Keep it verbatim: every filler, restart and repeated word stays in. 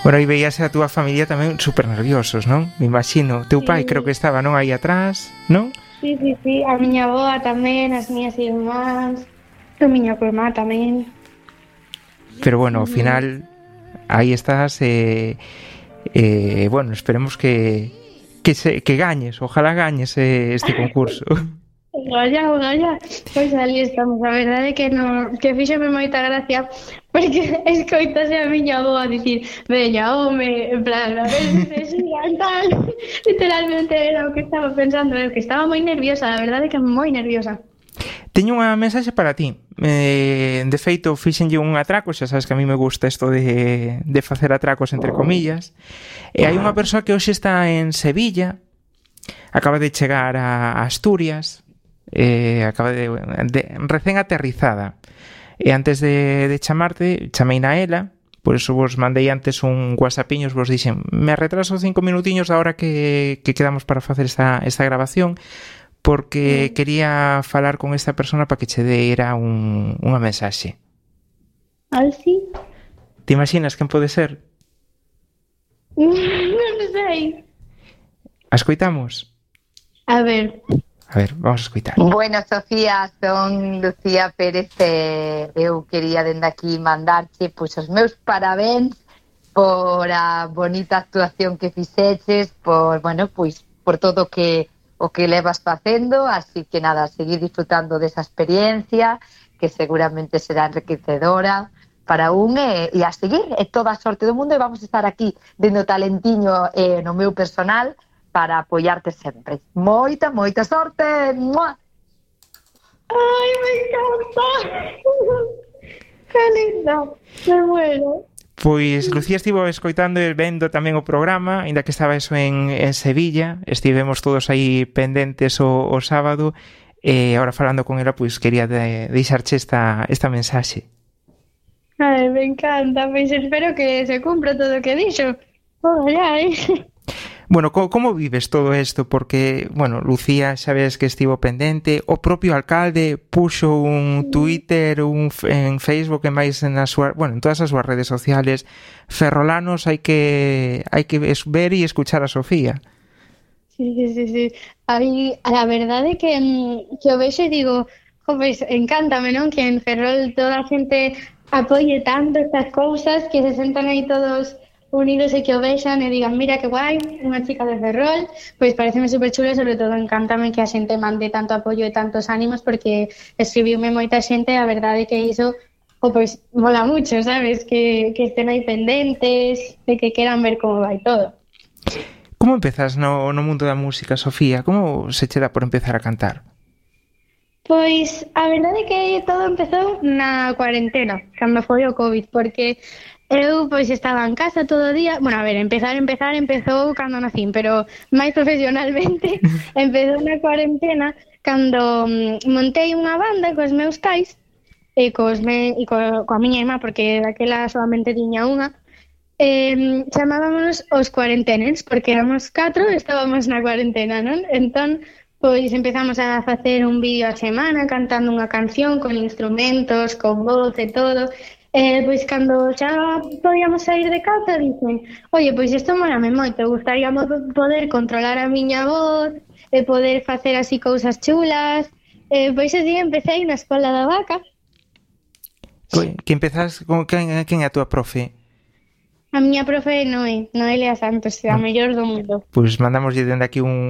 Bueno, aí veíase a túa familia tamén super nerviosos, non? Me imagino. Teu pai Sí. creo que estaba, non, aí atrás, non? Sí, sí, sí, a miña avoa tamén, as miñas irmás, a miña prima tamén. Pero bueno, ao final aí estás e eh, eh, bueno, esperemos que que se que gañes, ojalá gañes eh, este concurso. Olla, olla, pois ali estamos, a verdade é que no, que fíxeme moita gracia porque escoitase a miña avoa dicir veña, home, en plan, a ver se se xigan, tal. Literalmente era o que estaba pensando, eu que estaba moi nerviosa, a verdade é que moi nerviosa. Teño unha mensaxe para ti. Eh, de feito, fixenlle un atraco, xa sabes que a mí me gusta isto de, de facer atracos entre comillas. E hai unha persoa que hoxe está en Sevilla, acaba de chegar a Asturias, eh, acaba de, de recén aterrizada. E antes de, de chamarte, chamei na ela, por eso vos mandei antes un whatsappiños, vos dixen, me retraso cinco minutiños da hora que, que quedamos para facer esta, esta grabación, porque quería falar con esta persona para que che deira un, unha mensaxe. Alci? Te imaginas quen pode ser? Non sei. A escoitamos? A ver. A ver, vamos a escoitar. Bueno, Sofía, son Lucía Pérez e eu quería dende aquí mandarche pois os meus parabéns por a bonita actuación que fixeches, por, bueno, pois por todo que o que levas facendo, así que nada, seguir disfrutando desa experiencia que seguramente será enriquecedora para un e, e a seguir, e toda a sorte do mundo, e vamos a estar aquí dendo talentiño eh, no meu personal para apoiarte sempre. Moita, moita sorte. ¡Mua! Ai, me encanta. Que lindo. Me muero. Pois Lucía estivo escoitando e vendo tamén o programa, aínda que estaba eso en, en Sevilla, estivemos todos aí pendentes o, o sábado, e agora falando con ela, pois quería de, deixarche esta, esta mensaxe. Ai, me encanta, pois espero que se cumpra todo o que dixo. Ojalá, eh. Bueno, co, como vives todo isto? Porque, bueno, Lucía xa ves que estivo pendente, o propio alcalde puxo un Twitter, un en Facebook e máis na súa, bueno, en todas as súas redes sociales, ferrolanos hai que hai que ver e escuchar a Sofía. Sí, sí, sí, sí. Aí, a verdade é que, que o vexo e digo, jo, pois, encántame, non? Que en Ferrol toda a xente apoie tanto estas cousas, que se sentan aí todos unidos e que o vexan e digan, mira que guai, unha chica de Ferrol, pois pareceme super chulo e sobre todo encántame que a xente mande tanto apoio e tantos ánimos porque escribiume moita xente e a verdade que iso o pois mola mucho, sabes, que, que estén aí pendentes e que queran ver como vai todo. Como empezas no, no mundo da música, Sofía? Como se che dá por empezar a cantar? Pois a verdade é que todo empezou na cuarentena, cando foi o COVID, porque eu pois estaba en casa todo o día. Bueno, a ver, empezar, empezar, empezou cando nacín, pero máis profesionalmente empezou na cuarentena cando mm, montei unha banda cos meus pais e cos me, e co, coa miña irmá, porque daquela solamente tiña unha. Eh, chamábamos os cuarenteners, porque éramos catro e estábamos na cuarentena, non? Entón, pois empezamos a facer un vídeo a semana cantando unha canción con instrumentos, con voz e todo. Eh, pois cando xa podíamos sair de casa dicen, oye, pois isto molame moito, gustaríamos poder controlar a miña voz e poder facer así cousas chulas. Eh, pois así empecé na Escola da Vaca. Que empezas con quen, quen é a túa profe? A miña profe é Noé, Noelia Santos, a mellor do mundo. Pois mandamos dende aquí un